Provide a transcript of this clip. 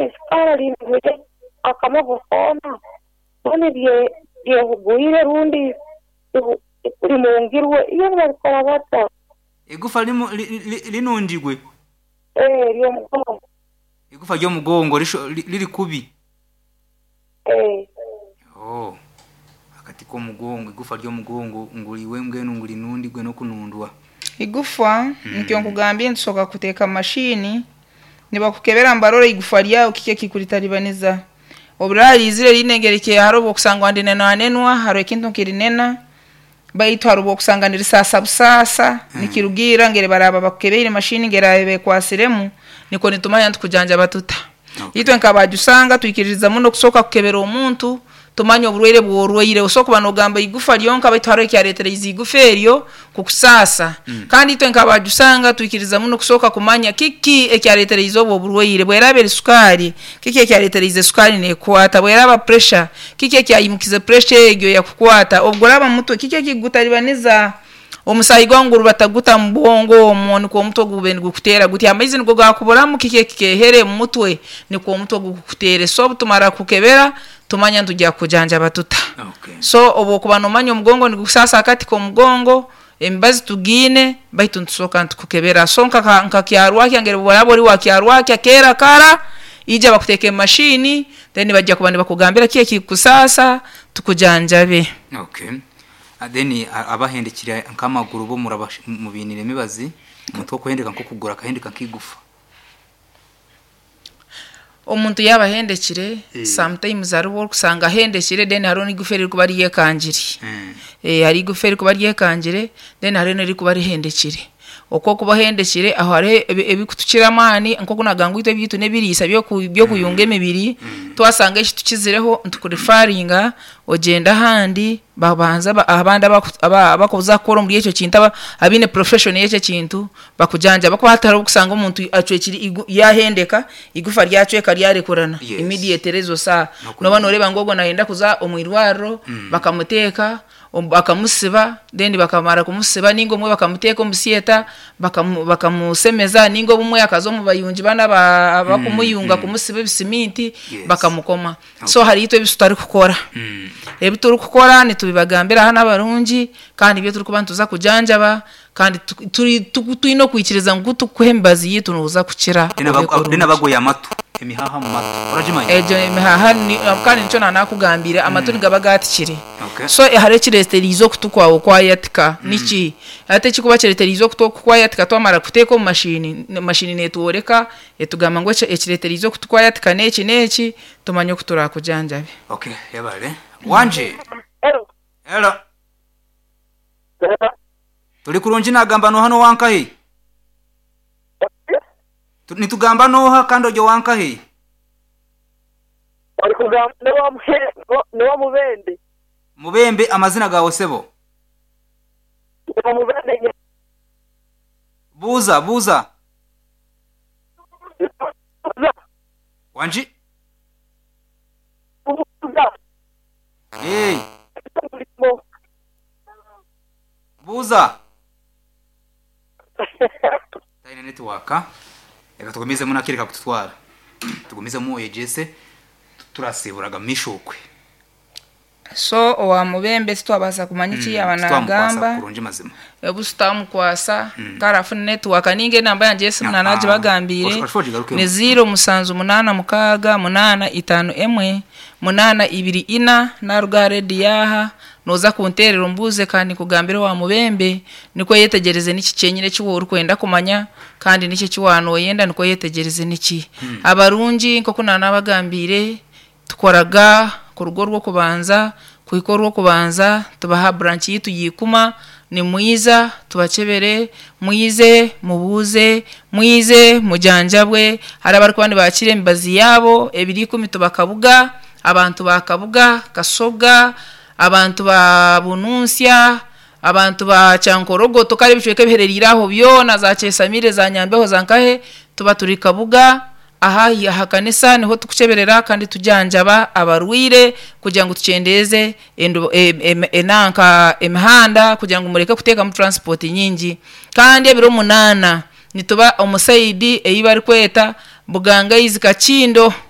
Isikaari akamogo koona mbwenu ryehugwire rundi rimungirwe iyo nibabikora bata? Eigufa rinungirwe? Ee, ery'omugongo. Eigufa ry'omugongo riri kubi? Ee. Oh, akati k'omugongo, eigufa ry'omugongo ngu iwe mbwenu ngu rinundirwe n'okunundwa. Igufa nikyo nkugambye nitusoboka kuteeka mu mashini nibakukebera nibarora igufa ryawe kiki ekikuritaribaniza. Obu riraba riizire riine engeri ki hariho obu okusanga nirinenwanenwa hariho ekintu nkirinena baitu hariho obu okusanga nirisaasa busaasa nikirugiirra ngeri baraaba bakukebeire mashini ngeri eraaba ekwasiremu nikwo nitumanya nitukujanjaba tuta. Itwe nk'abajusanga twikiririza muno kusooka kukebera omuntu tumanye oburwaire obu orwaire. Osobola kuba noogamba igufa ryonka baitu haroho ekyareetereize igufa eryo kukusaasa. Kandi itwe nk'abajusanga twikiriza muno kusooka kumanya kiki ekyareetereize obu oburwaire. Bweraaba eri sukaari, kiki ekyareetereize sukaari neekukwata? Bweraaba puresha, kiki ekyayimukize puresha egyo yakukwata? Obu guraaba mutwe, kiki ekikugutaribaniza? Omusaayi gwawe nigurubata guta mu bwongo omwo nikwo omutwe gube nigukuteera guti? Amaizi nigo gaakuburamu? Kiki ekikeehere omu mutwe nikwo omutwe gukukuteere? So obu tumara kukebera, tumanya nitwija kukujanjaba tuta. So obu okuba noomanya omugongo nigukusaasa akati k'omugongo, emibazi tugiine baitu nitusooka nitukukebera. So nka Kyarwakya ngeri obu oraaba ori wa Kyarwakya keera kara, ija bakuteeke mu mashini then baija kuba nibakugambira kiki ekikukusaasa tukujanjabe. Okay. Then abahendekire nk'amaguru bo mubainiire emibazi, omuntu orikuhendeka nk'okuguru akahendeka nk'eigufa. Omuntu yaaba ahendekire, sometimes hariho obu orikusanga ahendekire then hariho n'eigufa eririkuba ryekangire. Hariho eigufa erikuba ryekangire then hariho n'erikuba rihendekire. Oku orikuba ohendekire aho hariho ebikutukira amaani nk'oku naagamba ngu itwe ebyaitu n'ebiriisa by'okuyunga emibiri, twasanga eki tukizireho nitukurifaringa ogyenda ahandi babanza abandi abakuza kukora omuri ekyo kintu abaine profession y'ekyo ekintu bakujanjabe ahakuba hati hariho obu orikusanga omuntu acwekire yaahendeka eigufa ryacweka ryarekurana immediately ezo saaha nooba nooreeba ngu ogwo naayenda kuza omu irwariro bakamuteeka bakamusiba then bakamara kumusiba ninga obumwe bakamuteeka omu theatre bakamusemeza ninga obumwe akaza omu bayungi banu abakumuyunga kumusiba ebisiminti bakamukoma. So hariho itwe ebi tutarikukora. Ebi turikukora nitubibagambira hanu abarungi kandi nibyo turikuba nituza kujanjaba kandi twine okwikiriza ngu ku turikukuha emibazi yaitu nooza kukira obe Then kurungi. abagoya amatu, emihaha omu matu, oragimanya? Egyo emihaha kandi nikyo naanakugambiire amatu nigaba gaatikire. So hariho ekireetereize okutu kwawe kwayatika niki? Hati ekirikuba kireetereize okutu oku kwayatika twamara kuteeka omu mashini, mashini neetworeka etugamba ngu ekireetereize okutu kwayatika n'eki n'eki tumanye oku turaakujanjabe. Okay, yebare. Wangi. Hello. Hello. Turi kurungi nagamba noha n'owankahi? Nitugamba noha kandi ori owankahi? Orikugamba n'owa Mubende. Mubembe amazina gaawe sebo? N'owa Mubende. Buuza, buuza. Wangi? Ee. Buuza. Taine netiwaaka. Reka tugumizemu n'akaire kakututwara. Tugumizemu oyegyese turasiiburaga omu maisho okwe. So owa Mubembe titwabaasa kumanya eki yaaba Titwamukwasa naagamba. kurungi mazima. Obu tutamukwasa kare afune netiwaaka ninga enamba yangye y'esimu naanagibagambiire Oshuba ogigarukemu. ni ziiro mushanju munaana mukaaga munaana itaano emwe munaana ibiri ina naaruga aha rediyo aha nooza kunteerera ombuuze kandi nkugambire owa Mubembe nikwo oyetegyereze niki kyenyine eki waaba orikwenda kumanya kandi niki eki waaba nooyenda nikwo oyetegyereze niki. Abarungi nk'oku naanabagambiire Tukoraga kuruga orw'okubanza kuhika orw'okubanza tubaha branch yaitu ya Ikuma, nimwiza tubakyebere, mwize mubuuze, mwize mujanjabwe, hariho abarikuba nibaakira emibazi yaabo ebiro ikumi tubakabuga, abantu ba Kabuga, Kasoga, abantu ba Bununtsya, abantu ba Kyankorogoto kare ebicweka ebiherereire aho byona za Kyesamire, za Nyambeho, za nkahe tuba turi Kabuga. Aha aha kanisa niho turikukyeberera kandi tujanjaba abarwaire kugira ngu tukyendeeze enanka emihanda kugira ngu mureke kuteekamu transport nyingi. Kandi ebiro munaana nituba omu sayidi ei barikweta Bugangaizi Kakindo.